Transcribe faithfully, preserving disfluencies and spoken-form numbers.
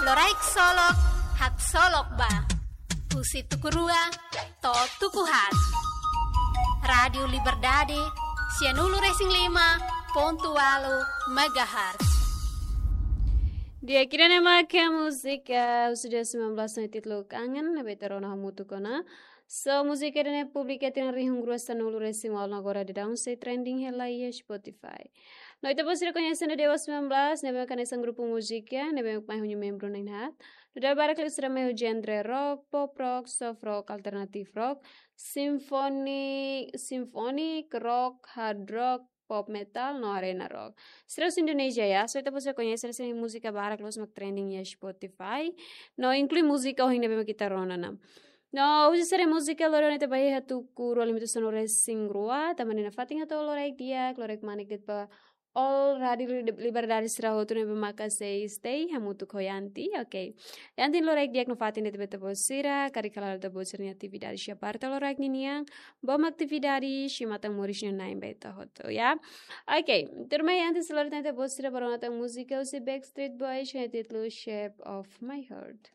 Loraik Solok, haksolok ba. Husi tuku rua to'o tuku haat. Rádiu Liberdade, sianulu-resin-lima pontu ualu megahertz. Di'ak, ida-ne'e mak múzika husi dua ribu sembilan belas no títulu Kangen, ne'ebé ita rona hamutuk ona. So, múzika ida-ne'e publika tinan rihun rua sanulu-resin-ualu, agora daudaun sei trending hela iha Spotify. No ita-boot sira koñese ona dua ribu sembilan belas, ne'ebé mak hanesan grupu múzika ne'ebé mak mai ho nia membru na'in haat. Nu'udar barak liu sira mai ho genre rock, pop rock, soft rock, alternative rock, symphony, symphonic rock, hard rock, pop metal no arena rock. Sira husi Indonézia, ya, so ita-boot sira koñese, sira-nia múzika barak loos mak trending iha Spotify. No inklui múzika ohin ne'ebé mak ita rona ona. No husi sira-nia múzika loron ne'e ita bá iha tuku rua lima sanulu-resin-rua, tanba ne'e nafatin hato'o loraik di'ak, loraik manek de'it ba all Rádiu Li-, Liberdade sira hotu ne'ebé maka sei stay hamutuk ho Yanti, oke. Yanti, loraik di'ak nafatin de'it ba ita-boot sira, karik hala'o ita-boot sira-nia atividade, siap parte loraik ninian, bom atividade, simu matan-moris nia Na'i ba ita hotu, ya. Oke, tuirmai Yanti sei lori tan ita-boot sira ba rona tan múzika husi Backstreet Boys, ho títulu Shape of My Heart.